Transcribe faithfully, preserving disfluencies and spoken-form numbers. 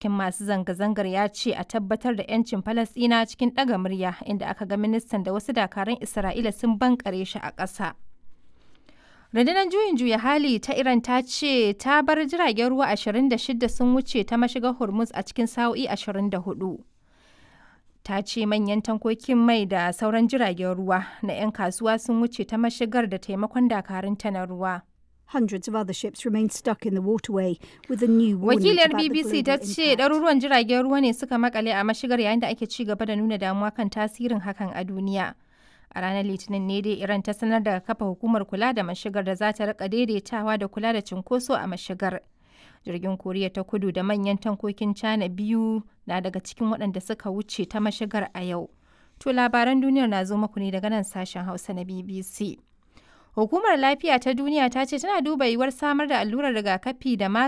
Cikin masu zanga-zangar ya ce a tabbatar da 'yancin Falasɗinawa cikin ɗaga murya, inda aka ga ministan da wasu dakarun Isra'ila sun bankare shi a ƙasa. Rundunar Juyin Juya Hali ta Iran ta ce ta bar jiragen ruwa ashirin da shida sun wuce ta mashigar Hormuz a cikin sa'o'i ashirin da huɗu. Ta ce manyan tankokin mai da sauran jiragen ruwa na 'yan kasuwa sun wuce ta mashigar da taimakon dakarunta na ruwa. Hundreds of other ships remain stuck in the waterway with a new warning Wakiliyar about the B B C ta global ce impact. ɗaruruwan jiragen ruwa ne suka makale a mashigar yayin da ake ci gaba da nuna damuwa kan tasirin hakan a duniya. A ranar Litinin ne dai Iran ta sanar da kafa hukumar kula da mashigar da za ta rika daidaitawa da kula da cunkoso a mashigar. Jirgin Koriya ta Kudu da manyan tankokin China biyu na daga cikin waɗanda suka wuce ta mashigar a yau. To, labaran duniyar na zo muku ne daga nan sashen Hausa na B B C. Hukumar Lafiya ta Duniya ta ce tana duba yiwuwar samar da allurar rigakafi da magani